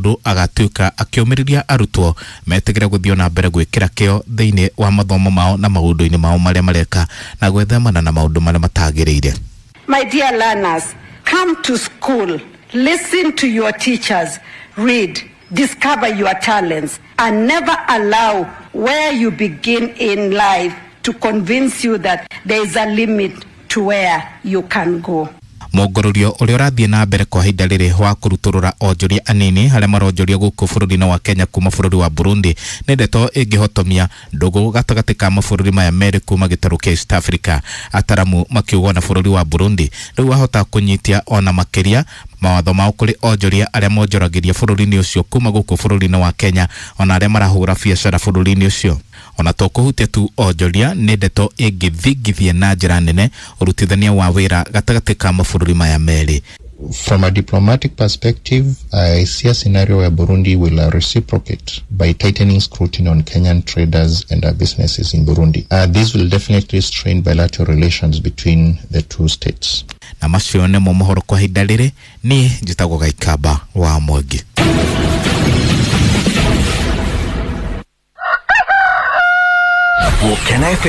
Mũndũ agatuĩka akĩũmĩrĩria arutwo metigĩre gũthiĩ na mbere gwĩkĩra kĩo thĩinĩ wa mathomo mao na maũndũ-inĩ mao marĩa mareka na gwĩthemana na maũndũ marĩa matagĩrĩire. My dear learners, come to school, listen to your teachers, read, discover your talents, and never allow where you begin in life to convince you that there is a limit to where you can go. Mũngũrũrio ũrĩa ũrathiĩ na mbere kwa ihinda rĩrĩ wa kũrutũrũra onjoria anini arĩa maronjoria gũkũ bũrũri-inĩ wa Kenya kuma bũrũri wa Burundi nĩ ndeto ĩngĩhotomia ndũgũ gatagatĩ ka mabũrũri maya merĩ kuma gĩtarũ kĩa East Africa. Ataramu makiuga ona bũrũri wa Burundi rĩu wahota kũnyitia ona makĩria mawatho mao kũrĩ onjoria arĩa monjoragĩria bũrũri-inĩ ũcio kuma gũkũ bũrũri-inĩ wa Kenya ona arĩa marahũra biacara bũrũri-inĩ ũcio. Ona to kũhutia tu onjoria nĩ ndeto ĩngĩthingithia na njĩra nene ũrutithania wa wĩra gatagatĩ ka mabũrũri maya merĩ. From a diplomatic perspective, I see a scenario where Burundi will reciprocate by tightening scrutiny on Kenyan traders and businesses in Burundi. This will definitely strain bilateral relations between the two states. Na macio nĩmo mohoro kwa ihinda rĩrĩ. Niĩ njĩtagwo Gaikamba wa Mwangi. Gũkena FM.